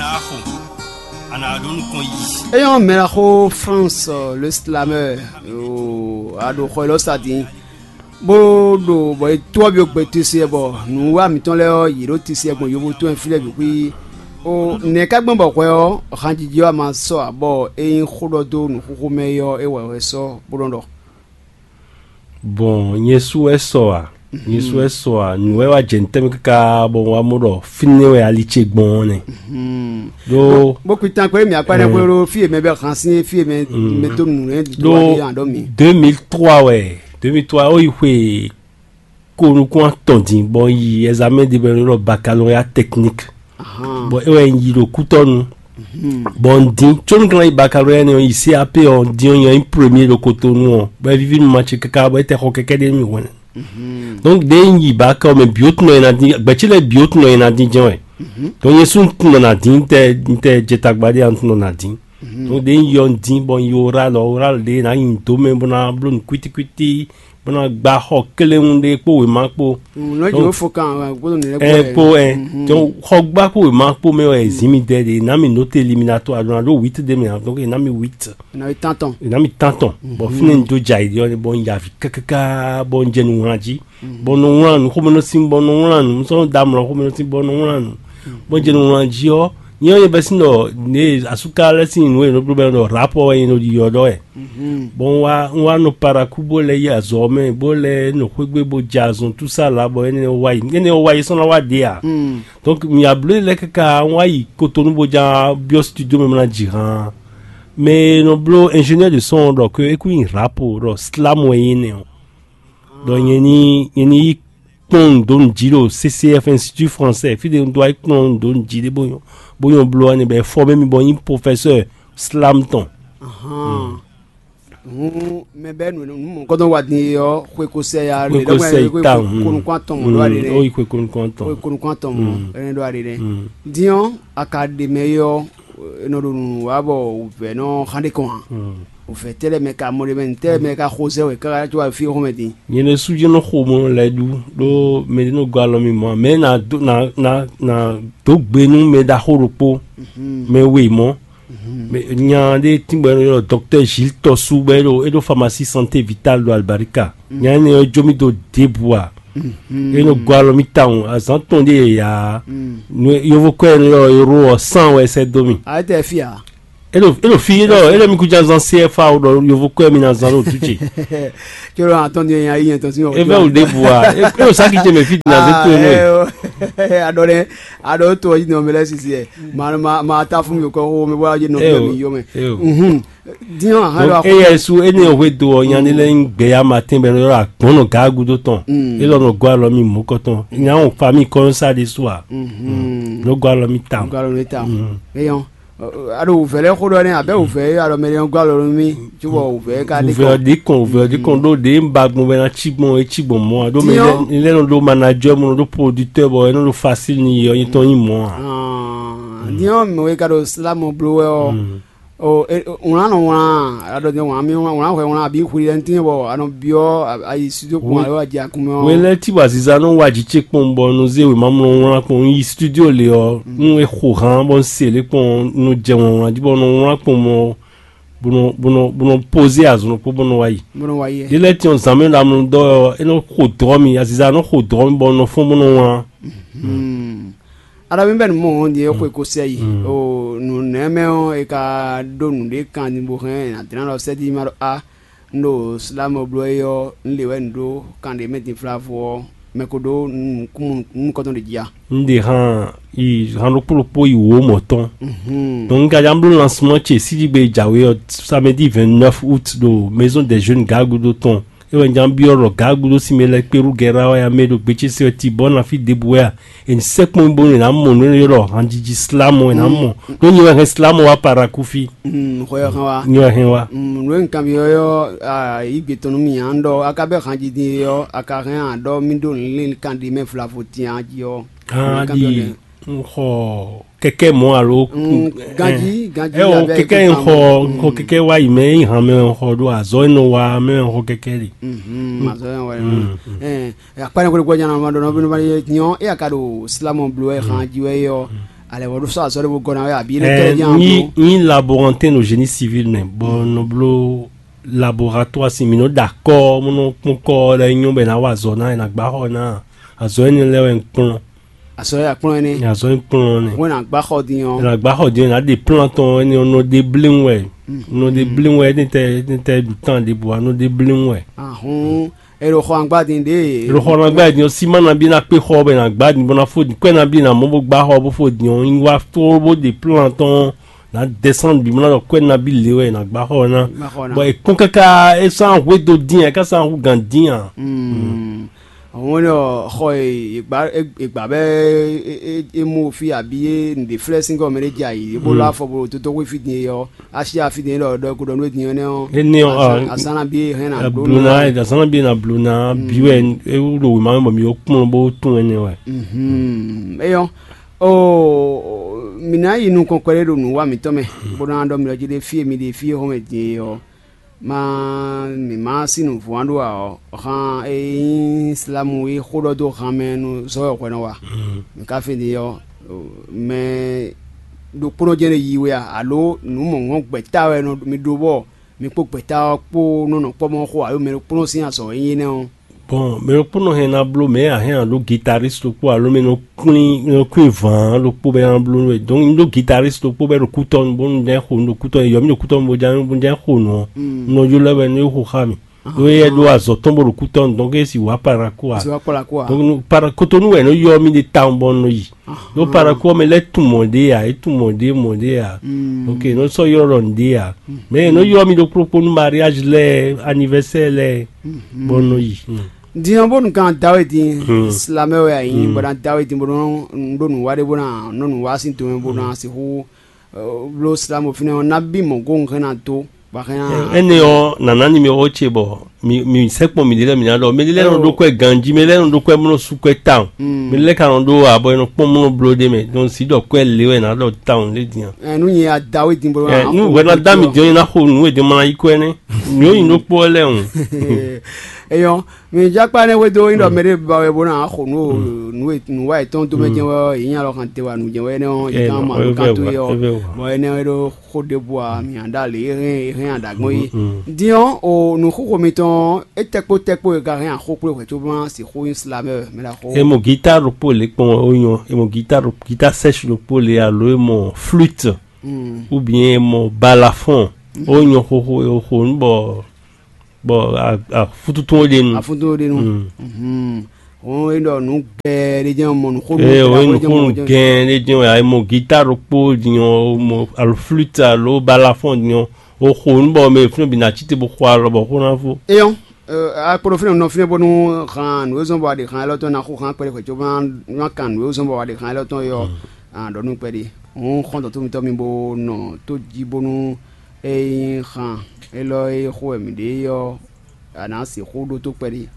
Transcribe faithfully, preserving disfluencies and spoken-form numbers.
Axo, a nǎ ɖó nukɔn yi. Eyɔn mɛlaxo France, le slameur, a ɖo xɔ élɔ́ sa din bó ɖo bɔ è tó ɔ́ byɔ́ gbe tesi wɛ bɔ nǔwiwa mǐtɔn lɛ́ɛ ɔ́, yě ɖo tesi wɛ gbɔn yovo tɔn e fí lɛ́ɛ bǐ xwí. O nɛ̌ ka gbɔn bɔ hwɛ ɔ́, hanjiji ɔ́ a ma sɔ́ ǎ, bɔ é nyí xó ɖɔ dó nǔxoxo mɛ é ɔ́, é wɛ hwɛ sɔ́ bó nɔ ɖɔ. Bon, nyɛ su wɛ sɔ a? Nyɛ su wɛ sɔ a? Nǔ wɛ wá jɛ ntɛ́nmɛ káká bɔ wá mɔ ɖɔ fínɛ́ wɛ ali ce gbɔn ɔ́ nɛ. Ɖó bó kú tan kpé mì akpa ɖe xwé ɖó fí e mɛ bɛ hàn sín fí e mɛ mɛ tó nǔ lɛ ɖó ɖó wá ɖé yan ɖɔ mì. Deux mille trois wɛ, deux mille trois ó yi xwe ko nukún atɔn din bɔ yi examen de bɛ ɖɔ baccalauréat technique. Bɔ é wɛ un yi ɖo kútɔnu. Bɔ un dín có un ka yi baccalauréat nɛ ɔ́, yi C A P ɔ́, un dín ɔ́, nyɛ nyí premier ɖo Cotonou ɔ́, bɔ é víví nú ma ce káká bɔ é tɛ xɔ kɛkɛ́ ɖé nú mì hwɛ̌n. Donc ɖěe un yi bac ɔ́ mɛ bǐ ó tunɔ e ná dín, gbɛ̌ ce lɛ́ɛ bǐ ó tunɔ e ná dín jɛ́n wɛ. Donc nyɛ sú un tunɔ ná dín, un tɛ un tɛ jɛ tagba ɖé ǎ, un tunɔ ná dín. Donc ɖěe un yi ɔ́, un dín bɔ un yi oral ɔ́, oral ɖě ná nyi dǒ mɛ bó ná bló nǔ kwítíkwítí, bó ná gbá xɔ kléwún ɖé kpó wěma kpó. Nɔ jɛ fo kan gbɔdɔ nɛ ɛ kpó ɛ. Donc xɔ gbá kpó wěma kpó mɛ wɛ zin mi dɛ ɖe, ná mi note éliminatoire ɖo ná ɖó huit ɖé mɛ, donc ná mi huit. Ná mi tán tɔn. Ná mi tán tɔn. Bɔ fínɛ́ un dó jɛ ayǐ ɖe ɔ́, bɔ un yi avǐ kákáká bɔ un jɛ nǔ wlán jí. Bɔ un nɔ wlán nǔ xomɛ nɔ sín bɔ un nɔ wlán nǔ, un sɔ́ nɔ dó amlɔ xomɛ nɔ sín bɔ un nɔ wlán nǔ. Bɔ un jɛ nǔ wlán jí ɔ́, nyɛ ɔ́ nyɛ bɛ́ sín ɖɔ ně asúká lɛ́ɛ sín nǔ e nɔ bló bɛ́ ɖɔ rapɔ wɛ nyɛ nɔ ɖiɖɔ ɖɔ wɛ. Bɔ un wá un wá nɔ parakú bó lɛ́ yi azɔ̌ mɛ bó lɛ́ nɔ xwégbé bó jɛ azɔn túsá la bɔ énɛ́ wá yi énɛ́ wá yi sɔ́ ná wá ɖe ǎ. Donc mì abló lɛ́ɛ káká un wá yi Cotonou bó já byɔ́ studio mɛ mla jǐ hán. Mɛ e nɔ bló ingénieur de son ɔ́ ɖɔ ke é kú nyi rapo ɖɔ slam wɛ nyí nɛ ɔ́. Ɖɔ nyɛ ní nyɛ ní yi kplɔ́n nǔ dó nǔ jí ɖo C C F, Institut Français, fí ɖé un dó wá yi kplɔ́n nǔ dó nǔ jí ɖé bó nyɔ́ bó nyɔ́ bló wá nɛ bɔ è fɔ́mɛ́ mì bɔ nyí professeur slam tɔn. Hǔn mɛ bɛ́ nǔ nǔ mɔ̌kɔ́tɔn wa din e ɔ́, xwe ko sɛ ya Xwe lě ko ɖɔmɛ sɛ yi xwe ta, ko nukún atɔn mɔ ɖó aɖe ó nɛ. Yi xwe ko nukún atɔn. Xwe ko nukún atɔn mɔ ɛnɛ ɖó aɖe nɛ. Din ɔ́, a ka ɖe mɛ yi ɔ́, e nɔ ɖo nǔ wa bɔ wǔvɛ́ nɔ xán ɖe kɔn a? Wǔvɛ́ tɛ́ lɛ́ɛ mɛ ka mɔ ɖe mɛ tɛ́ lɛ́ɛ mɛ ka xo zɛ wɛ káká có wá fí xɔmɛ din. Nyɛ ɖésú jɛ́n nɔ xo mɔ lɛ́ɛ ɖu ɖó mɛ ɖé nɔ gɔ́ alɔ mì mɔ̌ ǎ. Mɛ ná dó ná ná ná dó gbe nú mɛ ɖaxó ɖokpó, mɛ we mɔ̌. Mɛ nya ɖé tíngbɔ é nɔ ylɔ́ dɔktɛ́ Gilles Tɔsú bɔ é ɖo é ɖo Pharmacie Santé Vitale ɖo Albarika. Nya énɛ́ ɔ́ jó mì dó ɖěbǔ ǎ. É nɔ gɔ́ alɔ mì tawun azǎn tɔn ɖé yǎ. Nú yovo kɔ́ e nɔ ylɔ́ euro ɔ́ sán wɛ sɛ́ dó mì. A tɛ fia. É ɖo é ɖo fí é ɖɔ é ɖɔ mi kú já zán C F A ɖɔ yovo kɔ́ e mi ná zán ɖo dú ce. Tso ɖo atɔn din ya yi yɛn tɔn sin. É vɛ wò ɖěbǔ ǎ. É ɖo sáki ce mɛ fí din azé tó é nɔ. Aɖɔ ɖɛ aɖɔ tó ɔdzi nɔ mɛ lɛ sisi ɛ. Ma ma ma ta fún mi kɔ xó mi bɔ adze nɔ fún mi yó mɛ. Diɔ hã ɖo. Eye su ene hwe do ɔ nya ne lɛ gbɛ ya ma tɛn bɛ lɔ agbɔn nɔ ga gudo tɔn. E lɔ nɔ gɔ alɔ mi mɔ kɔtɔn nya o fa mi kɔ sa de su a. Nɔ gɔ alɔ mi ta. Gɔ alɔ mi ta. Eyɔn. Aɖo wǔvɛ́ lɛ́ɛ xó ɖɔ nɛ́ abɛ wǔvɛ́ alɔ mɛ lɛ́ɛ gɔ alɔ nú mì. Cóbɔ wǔvɛ́ ka ɖi kɔn. Wǔvɛ́ ɖi kɔn wǔvɛ́ ɖi kɔn ɖó ɖě un ba gbɔn bɛ ná cí gbɔn é cí gbɔn mɔ a ɖó mɛ lɛ́ɛ nɔ ɖó manager mɔ nɔ ɖó producteur bɔ é nɔ ɖo facile ni yɔ nyitɔn nyi mɔ a. Diɔ mɛ wɛ ka ɖo slamɔ bló wɛ ɔ. Wlán nɔ wlán aɖɔ jɛ wlán mi wlán wlán hwɛ wlán abi xwi lɛ ntin bɔ anɔ biɔ ayi studio kun alo aji akun mɛ. Wele tí wa ziza nɔ wa jì ce kpɔn bɔ nɔ zé wema mlɔ wlán kpɔn yi studio le ɔ nú e xo hàn bɔ se le kpɔn nɔ jɛ wlán wlán jí bɔ nɔ wlán kpɔn mɔ bɔ nɔ bɔ nɔ bɔ nɔ poze azɔn kpɔ bɔ nɔ wa yi. Bɔ nɔ wa yi. Yele tí ɔ zan mi la mlɔ dɔ ɔ e nɔ xo dɔ mi aziza nɔ xo dɔ mi bɔ nɔ fɔn bɔ nɔ wlán. Aɖɔ mi bɛ nu mɔ ɔn di e xwe ko sɛ yi o nu nɛ mɛ ɔn e ka ɖo nu ɖe kan ni bo hɛn na dina lɔ sɛ di ma ɖo a n ɖo slamɔ blɔ e ɔ n le wɛ n ɖo kan ɖe mɛ din flavo ɔ mɛ ko ɖo nu kɔtɔn ɖe jia. N ɖe han yi han ɖokpó ɖokpó yi wǒ mɔ̌ tɔn. Donc n ka ján bló lancement ce síɖigbe jǎwe ɔ samedi vingt-neuf août ɖo maison des jeunes gagudo tɔn. É wɛ un ján byɔ́ ɖɔ gǎgudo sinmɛ lɛ́ɛ kpé ɖó gɛ́ ɖá wɛ ǎ, mɛ e ɖo gbecésé wɛ tibɔ́ ná fí ɖěbǔ wɛ a? È nǐ sɛkpɔ́n mì bónú è nǎ mɔ nǔ énɛ́ ylɔ́ hanjiji slámɔ è nǎ mɔ. Ɖó nyɛ wɛ hɛn slámɔ wá Parakúfí. Xɔ ɛ hɛn wa. Nyɛ wɛ hɛn wá. Nǔ e un kanbyɔ́ ɔ́, yǐgbe tɔn nú mì ǎ, un ɖɔ a ka bɛ́ hanjiji ɔ́, a ka hɛn a ɖɔ mì ɖó nǔ kan ɖi mɛ vlavo din a jí ɔ́. Hán ɖi un xɔ kɛkɛ mɔ alo. Ganji ganji ɛ o kɛkɛ un xɔ un xɔ kɛkɛ wa yi mɛ yi hàn mɛ un xɔ ɖo azɔ yi nɔ wa mɛ un xɔ kɛkɛ li. Azɔ yi nɔ wa yi nɔ akpa ne kɔni kɔni nyana ma ɖɔ nɔ bínú ma ye nyɔ e aka ɖo silamɔ blo ɛ hàn ji wɛ yɔ. Alɛ wɔ ɖo sɔ azɔ ɖe bo gɔna wɛ abi ne kɛlɛ jan nyi nyi laborantin ɖo génie civil mɛ bɔ nɔ blo laboratoire si mi nɔ da kɔ mo nɔ kpɔn kɔ lɛ nyɔ bɛ na wa azɔ na na gba xɔ na azɔ ɛnɛ lɛ wɛ nkplɔn Azɔ ya kplɔn ɛnɛ. Azɔ nkplɔn nɛ Wɛn na gba xɔ din ɔ. Na gba xɔ din na de plan tɔn ɛnɛ nɔ de blinw wɛ nɔ de blinw wɛ ɛnɛ tɛ ɛnɛ tɛ tan de bua nɔ de blinw wɛ. Ahun. Ero xɔ angba din de. Ero xɔ na gba din ɔ sima na bi na kpe xɔ bɛ na gba din bɔ na fo din kwɛ na bi na mɔ bo gba xɔ bo fo din ɔ nyi wa fo bo de plan tɔn na descend bi mɔ na dɔ kwɛ na bi le wɛ na gba xɔ na. Bɔ ekpɔn kaka esan hwe do din ɛ kasa hu gan din a. Àwọn ní ɔ xɔ e ìgbà bɛ emu fi àbí e nìdè flɛ sín gɔmɛ ɖé dza yìí bó lɔ afɔ bó tótó wí fi din yɔ asi afi din lɔ ɖɔ ko ɖɔ nú din nɛ ɔ. Eni ɔ a- Asana bi hɛn na Bluna dasana bi na bluna bi wɛ ewu ɖo wema mɛ bɔ mi wo kplɔn bó tún ɛnɛ wɛ. Eyɔ o mi ná yi nukɔn kpɛɖé ɖo nǔwa mǐtɔn mɛ bó ná ɖɔ mi lɔ jí ɖe fie mi ɖe fie xɔmɛ din yɔ. Ma mǐ ma sí nǔvú ǎ ɖó ǎ ɔ́, hǎn e nyí Islamu e xó ɖɔ dó han mɛ nú zɔ́ wɛ hwɛ nɔ wa. Mǐ ka fí din ɔ́, mɛ ɖokpónɔ jɛ́n ɖe yi we a, alo nǔ mɔ̌hɔn gbɛ̌ta wɛ nɔ mi ɖó bɔ mi kpó gbɛ̌ta ɔ́ kpó nɔ nɔ kpɔ́ mɔ xo alo mɛ ɖokpónɔ sín azɔ̌ e nyí énɛ́ ɔ́? Bɔn mɛ ɖokpónɔ hɛn ná bló mɛ a hɛn ná ɖó guitariste ɖokpó alo mɛ nɔ kwín nɔ kwín vǎn ɖokpó bɛ ná bló nú we. Donc un ɖó guitariste ɖokpó bɛ ɖo kútɔnu bónú jɛ́n xo un ɖo kútɔnu yɔ mí ɖo kútɔnu bó jɛ́n bó jɛ́n xo nǔ ɔ́, un nɔ ylɔ́ wɛ nú é xo xá mì. Ɖó éyɛ́ ɖó azɔ̌ tɔn bó ɖo kútɔnu, donc é sì wǎ paraku a. Zɔ kpla kó a. Donc para kotonu wɛ nɔ ylɔ́ mì ɖe tawun bɔ nɔ yi. Ɖó paraku ɔ́ mɛ lɛ́ tunwun mɔ̌ ɖé a, é tunwun mɔ̌ ɖé mɔ̌ ɖé a. Ok, nɔ sɔ́ ylɔ́ ɖɔ nǔɖé a. Mɛ nɔ ylɔ́ mì ɖokpó ɖokpó nú mariage lɛ́ɛ, anniversaire lɛ́ɛ, bɔ nɔ yi. Din ɔ́ bónú kan da wɛ din silamɛ wɛ a nyí bɔ na da wɛ din bó nɔ ɖó nǔ wa ɖé bó na nɔ nǔ wa sín tomɛ bó na sixú bló silamɛ fínɛ́ ɔ́ ná bí mɔ̌ gó un hɛn ná dó bɔ hɛn ná. Ɛnɛ ɔ́ nana ni mi ɔ́ ce bɔ mi mi sɛkpɔn mi ɖe lɛ mi ná ɖɔ mi ɖe lɛ nɔ ɖó kɔɛ ganji mi lɛ nɔ ɖó kɔɛ mlɔ su kɔɛ tawun mi lɛ ka nɔ ɖó abɔ nɔ kpɔn mlɔ blo ɖe mɛ donc si ɖɔ kɔɛ le wɛ na ɖɔ tawun lé diyan. Ɛ nu nyi ada wɛ din bolo. Ɛ nu wɛ na da mi diyan na xo nu wɛ de ma yi kɔɛ nɛ nu yi nɔ kpɔ lɛ o. Eyɔn mi jakpa ne hwedo yin ɖɔ mɛ ɖe ba wɛ bo na xɔ nu nu wa etɔn do mɛ jɛn wɛ yin alɔ kan te wa nu jɛn wɛ ne ɔ yi kan ma lo kan to ye ɔ bɔn ene wɛ ɖo xo ɖe bua mi anda le hɛn hɛn adagbɔn yi diɔn o nu xoxo mitɔn e tɛkpo tɛkpo e ka hɛn axo kple hwɛ to ma si xo yin slamɛ mɛ la xo. Emo guitare ɖokpó le kpɔn o nyɔ emo guitare guitare sèche ɖokpó le alo emo flûte ou bien emo balafon o nyɔ xoxo o xo nu bɔ bɔ afututun ɖe nu. Afututun ɖe nu. Wọn e ɖɔ nu gɛɛ ɖe jɛn mɔ nu xo nu. Ee o nu xo nu gɛɛ ɖe jɛn o ayi mɔ guitare ɖokpó dinyɔ o mɔ alo flûte alo balafon dinyɔ o xo nu bɔ mɛ fúnɛ bi na tite bo xɔ alɔ bɔ xo na fo. Eyɔn akpɔɖɔ fínɛ nɔ fínɛ bɔnu hàn nu ezɔn bɔ aɖe hàn ɛlɔtɔn na xo hàn kpɛɖe xwɛ tso ma kan nu ezɔn bɔ aɖe hàn ɛlɔtɔn yɔ. Ɖɔ nu kpɛɖe. Òun xɔn tɔtɔ mitɔ mi bo nɔ tó jí bónú é nyí xan élɔ́ e xó wɛ mǐ ɖe é ɔ́, a nǎ sixú ɖótó kpɛɖé.